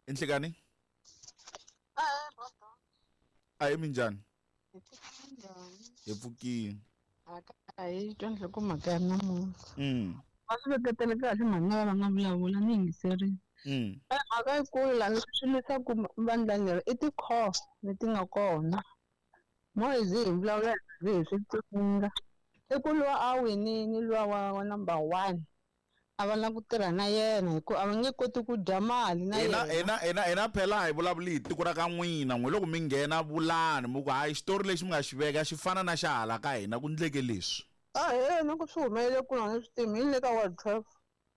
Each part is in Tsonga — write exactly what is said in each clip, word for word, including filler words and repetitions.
Inhlekani? A hi minjhani? Hi pfukile. A hi twa nhlokomhaka ya namuntlha. Mm. Va swi veketele kahle mhani lava va nga vulavula ni yingiserile. Mm. Mhaka yikulu laha leswi leswaku vandla leri i ti-core leti nga kona. Mo hi ze hi vulavula hi ze hi swi tsundzuka. I ku luwa a winile luwa wa wa number one a va lava ku tirha na yena hikuva a va nge koti ku dya mali na Hina yena. hina hina hina phela hi vulavuli hi tiko ra ka n'wina n'we loko mi nghena vulani mi ku hayi xitori lexi mi nga xi veka xi fana na xa hala ka hina ku ndleke leswi. A he na ku swi humelele kwini a ni swi tivi hi le ka ward twelve.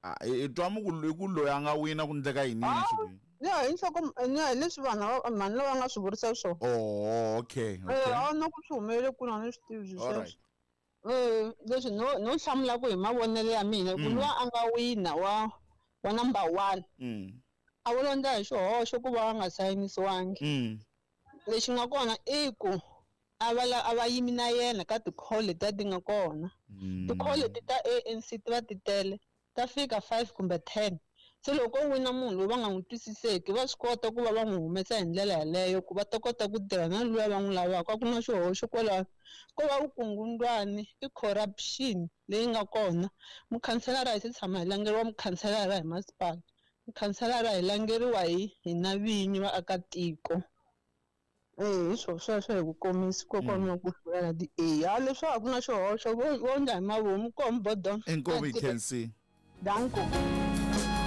A hi twa mi ku i ku loyi a nga wina ku ndleka yini yini swi Ni ya hi nhloko ni ya hi leswi vanhu lava mhani lava nga swi vurisa swona. Oh okay Eh okay. a na ku swi humelele kwini a ni swi tivi All sweswo. right. Eh leswi no no hlamula ku hi mavonelo ya mina ku Mm. luwa a nga wina wa wa number one Mm. a wu londza hi xihoxo ku va a nga sayinisiwangi. Mm. Lexi nga kona i ku a va la a va yimi na yena ka ti-call letiya ti nga kona. Mm. Ti-call leti ta A N C ti va ti tele ta fika five kumbe ten. Se loko ko wina munhu loyi va nga n'wi twisiseki va swi kota ku va va n'wi humesa hi ndlela yaleyo ku va ta kota ku tirha na luya va n'wi lavaka. A ku na xihoxo kwalano. Ko va vukungundzwani i corruption leyi nga kona. Mukhanselara hi se tshama hi langeriwa mukhanselara hi masipala. Mukhanselara hi langeriwa hi hina vinyi vaakatiko. Eh hi swo sweswo hi ku komisa kokwana wa ku hlula ti A. A leswi a ku na xihoxo vo vo endla hi mavomu koho Bodon. Inkomu hi K N C. Danko.